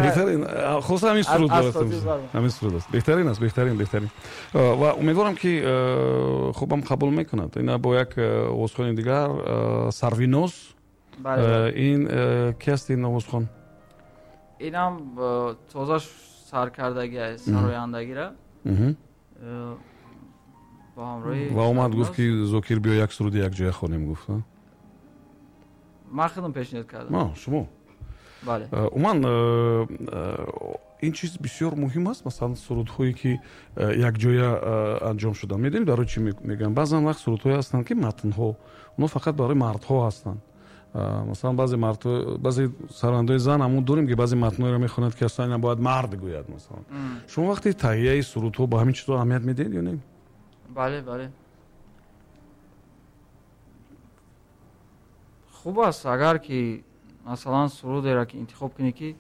Беҳтарин, хулоса, ҳамин суруд, ҳамин суруд аст. Беҳтарин аст, беҳтарин, беҳтарин. Ва умедворам, ки хубам қабул мекунад. Ина бо як овозхони дигар, Сарвиноз. Ин ки аст, ин овозхон? Инам тоза саркардаги аст сарояндагира. Бо ҳамроҳи Ва омад, гуфт, ки Зокир, биё, як суруди якҷоя хонем, гуфт. Ман худам пешниҳод кардам. Шумо? Бале. Умуман, ин чиз бисёр муҳим аст. Масалан, сурудҳое, ки якҷоя анҷом шуданд, медонед, барои чӣ мегӯям? Баъзан вақт сурудҳое ҳастанд, ки матнҳо онҳо фақат барои мардҳо ҳастанд. Масалан, баъзе мардҳо, баъзе сарояндаҳои зан ҳамон дорем, ки баъзе матнҳоеро мехонанд, ки аслан ина бояд мард гӯяд. Масалан, шумо вақти таҳияи сурудҳо ба ҳамин чизҳо аҳамият медиҳед ё не? Бале, хуб аст, агар ки масалан сурудеро ки интихоб кунӣ, ки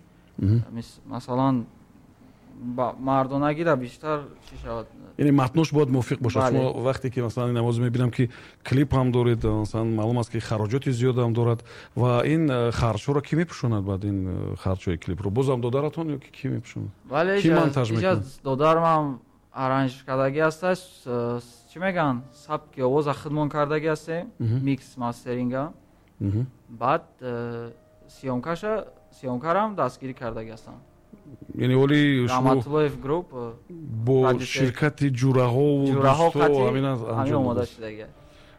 масалан мардонагиро бештар чӣ шавад. Яъне матнош бояд мувофиқ бошад. Шумо вақте ки масалан ин овоз, мебинам, ки клип ҳам доред, масалан, маълум аст, ки хароҷоти зиёдам дорад. Ва ин харҷҳоро кӣ мепӯшонад? Баъд ин харҷҳои клипро бозам додаратон ё ки кӣ мепӯшонад? Бале, кӣ монтаж мекунад? Додарам аранж кардагӣ ҳасташ, чӣ мегӯянд, сабки овоза худмон кардагӣ ҳастем, микс мастеринга. Баъд съёмкаша, съёмкарам дастгирӣ кардагӣ ҳастам. Яъне оли Раҳматуллоев груп. Бо ширкати ҷураҳову дӯсто ҳамин омода шудагӣ.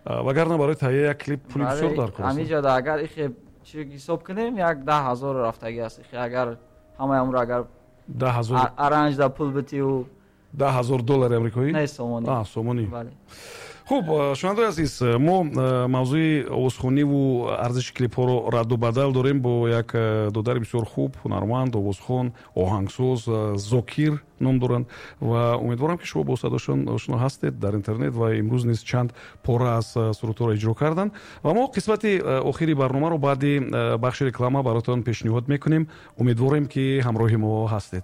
Вагарна барои таҳияи як клип пули бисёр дар кор аст. Ҳамин агар ихе чи ҳисоб кунем, як 10 000 рафтагӣ аст. Ихе агар ҳамаи амро агар 10 000 аранж да пул битиву 10 000 доллари амрикоӣ? Не, сомонӣ. Сомонӣ. Хуб, шунавандаи азиз, мо мавзӯи овозхониву арзиши клипҳоро радду бадал дорем бо як додари бисёр хуб, ҳунарманд, овозхон, оҳангсоз, Зокир ном доранд. Ва умедворам, ки шумо бо садошон ошно ҳастед дар интернет ва имрӯз низ чанд пора аз сурудҳоро иҷро карданд. Ва мо қисмати охири барномаро баъди бахши реклама баротон пешниҳод мекунем. Умедворем, ки ҳамроҳи мо ҳастед.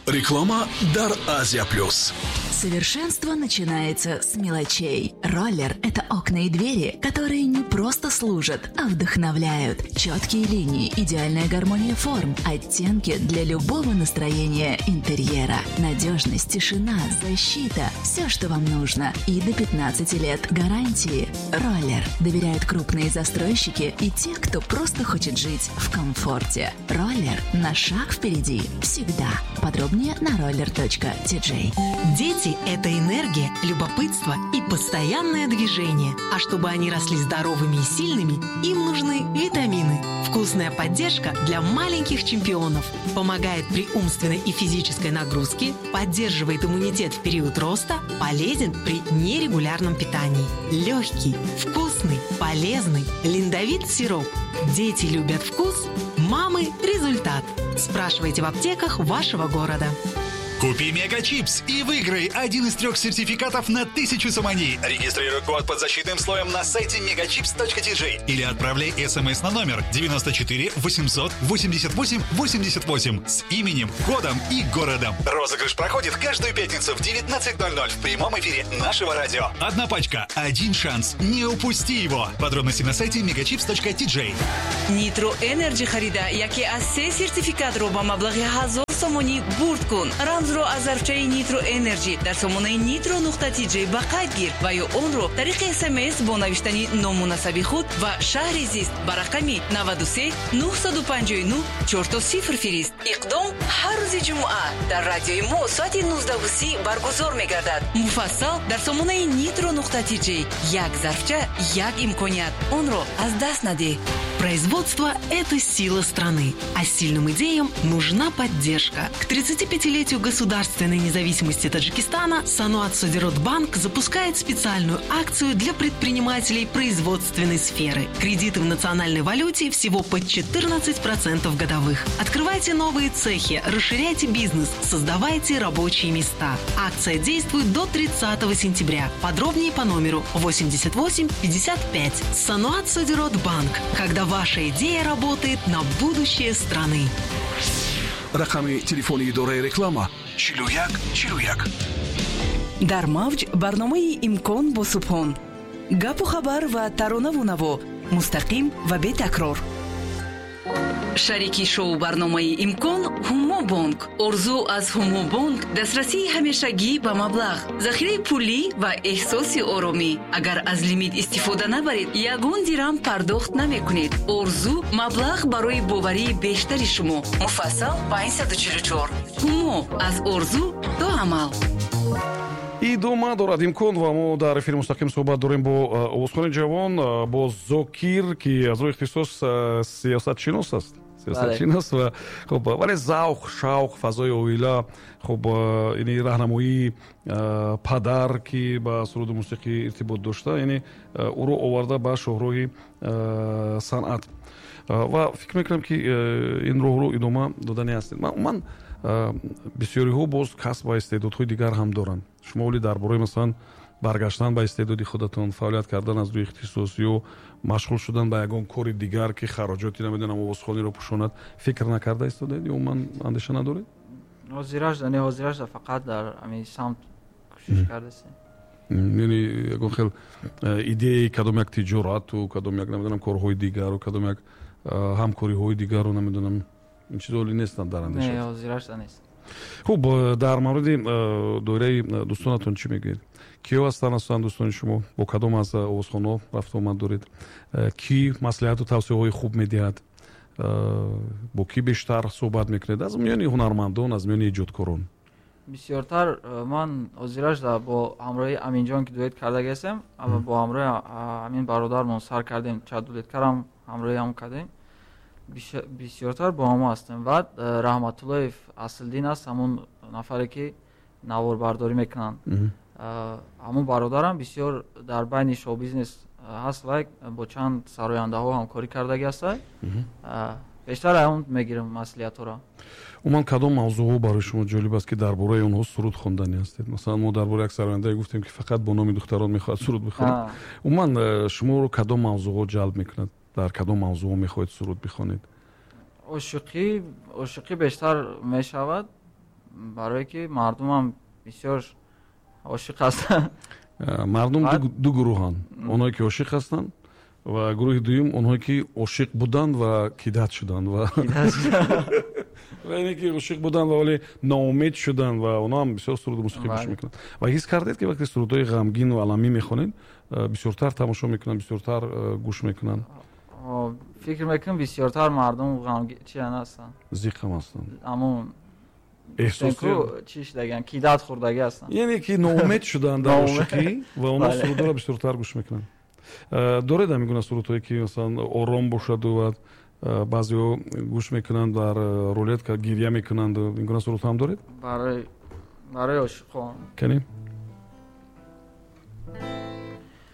Реклама дар Азия Плюс. Совершенство начинается с мелочей. Роллер – это окна и двери, которые не просто служат, а вдохновляют. Четкие линии, идеальная гармония форм, оттенки для любого настроения интерьера. Надежность, тишина, защита – все, что вам нужно. И до 15 лет гарантии. Роллер. Доверяют крупные застройщики и те, кто просто хочет жить в комфорте. Роллер на шаг впереди. Всегда. Подробнее на roller.tj. Дети – это энергия, любопытство и постоянное движение. А чтобы они росли здоровыми и сильными, им нужны витамины. Вкусная поддержка для маленьких чемпионов. Помогает при умственной и физической нагрузке, поддерживает иммунитет в период роста, полезен при нерегулярном питании. Легкий, вкусный, полезный Линдовит сироп. Дети любят вкус, мамы – результат. Спрашивайте в аптеках вашего города. Купи Мега Чипс и выиграй один из трех сертификатов на 1000 сомони. Регистрируй код под защитным слоем на сайте megachips.tj или отправляй смс на номер 94 888 88 с именем, кодом и городом. Розыгрыш проходит каждую пятницу в 19.00 в прямом эфире нашего радио. Одна пачка, один шанс. Не упусти его. Подробности на сайте megachips.tj. Нитро Энерджи харида, яке аз се сертификатро ба маблағи 1000 сомонӣ бурд кун. Рамзро аз зарфчаи Нитро Энерджи дар сомонаи nitro.tj ба қайд гир ва ё онро тариқи СМС бо навиштани ному насаби худ ва шаҳри зист ба рақами 93 959 00 фирист. Иқдом ҳар рӯзи ҷумъа дар радиои мо соати 19:30 баргузор мегардад. Муфассал дар сомонаи nitro.tj. Як зарфча, як имконият, онро аз даст надеҳ. Производство – это сила страны, а сильным идеям нужна поддержка. К 35-летию государственной независимости Таджикистана Саноат Содиротбанк запускает специальную акцию для предпринимателей производственной сферы. Кредиты в национальной валюте всего под 14% годовых. Открывайте новые цехи, расширяйте бизнес, создавайте рабочие места. Акция действует до 30 сентября. Подробнее по номеру 88 55. Саноат Содиротбанк. Когда ваша идея работает на будущее страны. Рақами телефони идораи реклама: 41 41. Дар мавҷ барномаи «Имкон» бо Субҳон. Гапу хабар ва таронаву наво мустақим ва бетакрор. Шарики шоу барномаи «Имкон» Ҳумобонк. Орзу аз Ҳумобонк дастрасии ҳамешагӣ ба маблағ, захираи пулӣ ва эҳсоси оромӣ. Агар аз лимит истифода набаред, ягон дирам пардохт намекунед. Орзу маблағ барои боварии бештари шумо. Муфассал 544. Ҳумо аз орзу то амал. Идома дорад «Имкон» ва мо дар эфири мустақим суҳбат дорем бо овозхони ҷавон, бо Зокир, ки аз рӯи ихтисос сиёсатшинос аст, сиёсатшинос ва хуб, вале завқ, шавқ, фазои оила, хуб, яъне раҳнамоии падар, ки ба суруду мусиқӣ иртибот дошта, яъне ӯро оварда ба шоҳроҳи санъат ва фикр мекунам, ки ин роҳро идома додани ҳастед. Умуман, бисёриҳо боз касб ва истеъдодҳои дигар ҳам доранд. Шумо оли дар бораи, масалан, баргаштан ба истеъдоди худатон, фаъолият кардан аз рӯи ихтисос ё машғул шудан ба ягон кори дигар, ки хароҷоти, намедонам, овозхониро пӯшонад, фикр накарда истодаед ё умуман андеша надоред? Ҳозирашда не, ҳозирашда фақат дар ҳамин самт кӯшиш кардастем. Яъне ягон хел идеяи кадом як тиҷорату, кадом як, намедонам, корҳои дигару, кадом як ҳамкориҳои дигару, намедонам, ин чизо оли нестанд дар андеша? Не, ҳозирашда нест. Хуб, дар мавриди доираи дӯстонатон чӣ мегӯед? Киё ҳастанд асосан дӯстони шумо? Бо кадом аз овозхонҳо рафту омад доред? Кӣ маслиҳату тавсияҳои хуб медиҳад? Бо кӣ бештар суҳбат мекунед аз миёни ҳунармандон, аз миёни эҷодкорон? Бисёртар ман ҳозирашда бо ҳамроҳи Аминҷон, ки дуэт кардаги ҳастем, бо ҳамроҳи ҳамин бародармон сар кардем, чанд дуэткарам ҳамроҳи ҳам кардем, бисёртар бо ҳамо ҳастем. Баъд Раҳматуллоев Аслиддин аст, ҳамон нафаре, ки наворбардорӣ мекунанд. Ҳамон бародарам бисёр дар байни шоу-бизнес ҳаст ва бо чанд сарояндаҳо ҳамкорӣ кардаги ҳаста. Бештар ҳамон мегирам маслиҳатҳоро. Умуман, кадом мавзӯъҳо барои шумо ҷолиб аст, ки дар бораи онҳо суруд хондани ҳастед? Масалан, мо дар бораи як сарояндае гуфтем, ки фақат бо номи духтарон мехоҳад суруд бихонад. Умуман, шуморо кадом мавзӯъҳо ҷалб мекунад? Дар кадом мавзӯъҳо мехоҳед суруд бихонед? Ошиқӣ бештар мешавад, барое ки мардумам бисёр ошиқ ҳастанд. Мардум ду гурӯҳанд: онҳое, ки ошиқ ҳастанд, ва гурӯҳи дуюм онҳое, ки ошиқ буданд ва кидать шуданд, ва ине ки ошиқ буданд ва вале ноумед шуданд, ва онҳо ҳам бисёр суруду мусиқӣ гӯш мекунанд. Ва ҳис кардед, ки вақте сурудҳои ғамгину аламӣ мехонед, бисёртар тамошо мекунанд, бисёртар гӯш мекунанд? Фикр мекунам, бисёртар мардум чиан ҳастанд. Зиқам ҳастанд. Ҳамон эҳсоси чӣ шудагиан, кидать хӯрдагӣ ҳастанд. Яъне ки ноумед шуданд дар ошиқӣ ва онҳо сурудҳоро бисёртар гӯш мекунанд. Доред ҳамин гуна сурудҳое, ки масалан ором бошаду ва баъзеҳо гӯш мекунанд, дар рулетка гиря мекунанд? Ин гуна сурудҳо ҳам доред? Барои ошиқон. Кани.